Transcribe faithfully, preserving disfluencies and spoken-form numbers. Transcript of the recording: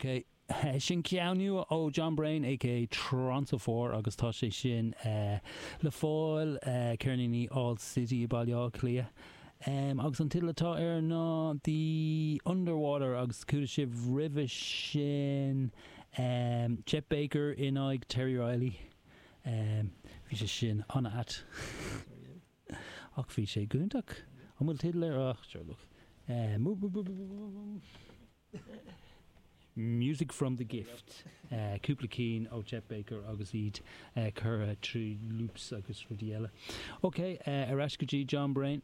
Ok. Sin ceann nua ó John Brain aka Toronto Four agus tá sé sin uh, le fáil uh, ceirníní All City i Baile Átha Cliath. Um, agus an teideal atá air ná The Underwater agus chuala sibh roimhe sin um, Chet Baker in aghaidh Terry Riley. Um, bhí sé sin an-ait. Ach bhí sé iontach an bhfuil teideal air ach sure look. Um, Music from the Gift. Uh, cúpla ceann ó Chet Baker agus iad uh, curtha trí loops agus rudaí eile. Ok, uh, ar ais go dtí John Brain.